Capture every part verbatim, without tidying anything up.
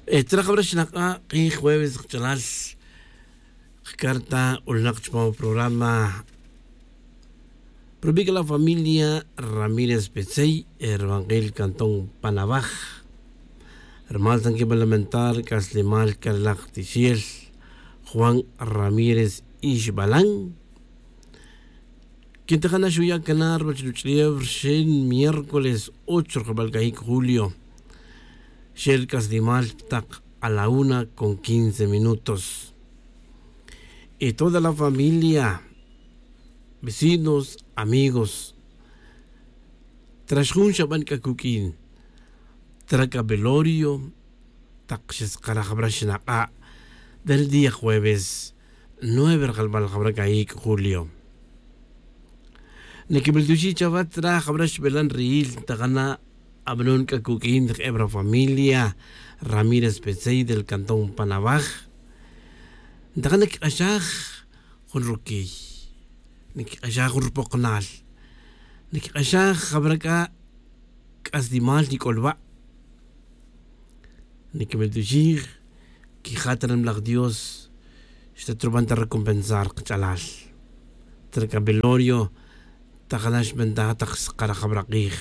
Traj abra xnak'a' k'ij jueves kach'alal. Kcarta ulnak chupam programa. Probica la familia ramírez petzey, rubankil cantón panabaj. Rumal ta nquibalamentar c'aslimal carlaj tixel juan ramírez ixbalan. Quintajana xuya' cana ruwech ruch'ulew rxin miércoles ocho rjabal cayic' julio. Xel c'aslimal tak a la una con quince minutos. Y toda la familia, vecinos, amigos, trax jun xaban c'a cuq'uin traca velorio. Tak xeskaraj bra xnak'a' del día jueves nueve rjalbal jabra cayic' julio. Niquimiltuxij chawa traj jabra xbelan riil ntajana' abanon c'a cuq'uin jebra familia ramírez petzey del cantón panabaj. Ntajana' quik'axaj jun ruquiy, niquik'axaj jun rupoknal, niquik'axaj jabra c'a c'aslimal quic'olba'. Niquimiltuxij quija' ta ri nimalaj dios xta truban ta recompensar kach'alal. Traka velorio tajana' xbentaj tak skaraj jabra k'ij.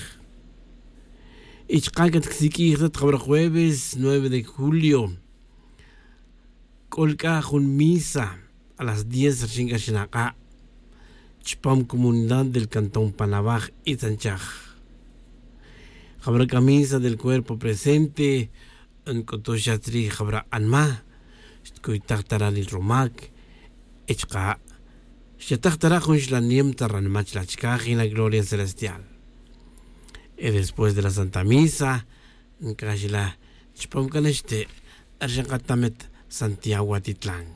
Y chaka' catcsiq'uij ta jabra jueves nueve de julio c'o c'a jun misa a las diez rixin c'a xnak'a' chupam comunidad del cantón panabaj itzanchaj. Jabra c'a misa del cuerpo presente nc'utux xa tzrij jabra anma xtcuytaj ta ranil rumac. Y chaka' xchataj ta ra' jun xlanem ta ranma chila' chicaj y la gloria celestial. Y después de la santa misa ncaj xila' chupam c'a naxte' rixin katamet santiago atitlan.